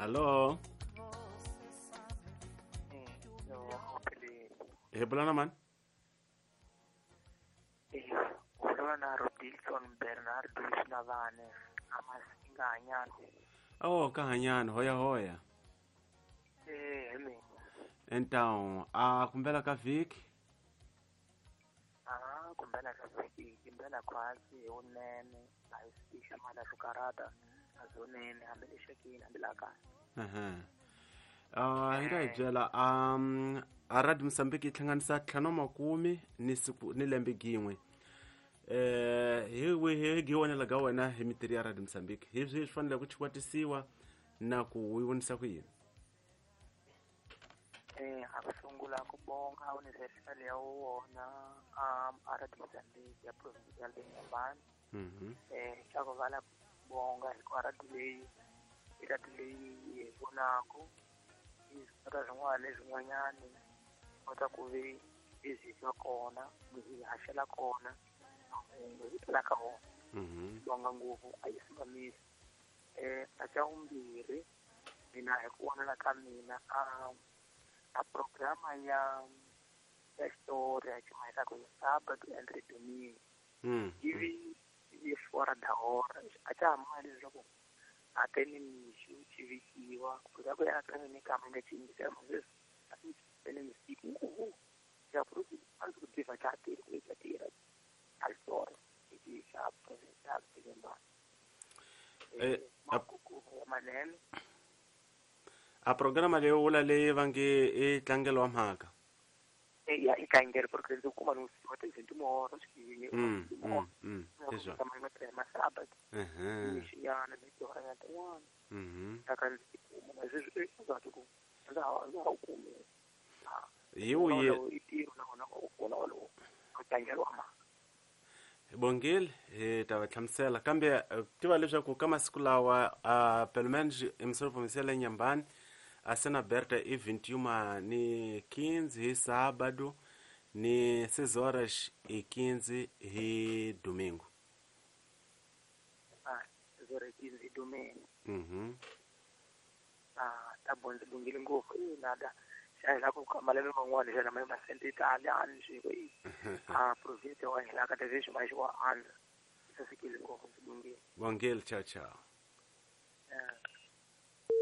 Hallo. Hi bula na mani? Bula na Robinson Bernardo Xinavane, Amasinga Hanyana. Oh, ka Hanyana, hoya hoya. Eh, hi mina. Então, a kumbela ka vhiki? Ah, kumbela ka vhiki, kumbela khwatsi hi vunene, a hi swi hlamala swo karhata, a zonene hambi le xekini hambi laha kaya. Hi nga hi byela a Radio Mozambique yi hlanganisa 50 ni siku ni lembe gin'we. Hi wihi hi vonela ka wena hi mitirho ya Radio Mozambique? Hi swihi swi fanele ku chikwatisiwa na ku yi vonisa ku yini? A ku sungula ku bonga Universal ya wona a Radio Mozambique ya Provincial de Inhambane. Xa ku vala bonga hikuva radio leyi i radio leyi hi vonaku yi kota swin'wana leswin'wanyani kota ku vi hi swi twa kona hi haxela kona hi twela ka wona. Bonga ngopfu a yi simamisi. A xa vumbirhi mina hi ku vonela ka mina a programa ya xitori ya chumayelaka hi sábado entre domingo ivi yi fora da hora a xa ha mali leswaku a te ni mixo xi vikiwa ku ku ya ka ni ka mina xi yingisela sweswi a ni misiku ya ku a ndzi ku tiva xa tirha ku xa tirha a xitori lexi xa provincial Inhambane. Manene a programa leyi vula leyi va nge i tlangelo wa mhaka. Ya i tlangelo porque ndzi kuma no siku ta timoro xiyini masaba xiyana ni tihora ya tin'wana ta ka ndzi kuma sweswi ndza ku ndza ha kumi hi wuye i tirho na wona u kona wolowo ku tlangelo wa mhaka. Bongile hi ta va hlamusela kambe tiva leswaku ka masiku lawa pelo menos emissora provincial ya Inhambane a cena aberta e 21 ni 15 hi sábado ni 6 horas e 15 hi domingo. 6 horas e 15 hi domingo. Ta bondzi bongile ngopfu nada xa la ku malembe man'wana xana ma masente italiani swiko a province wa hina ka tevhexi ma xi wa andza sasekile ngopfu ndzi bongile. Bongile, ciao ciao.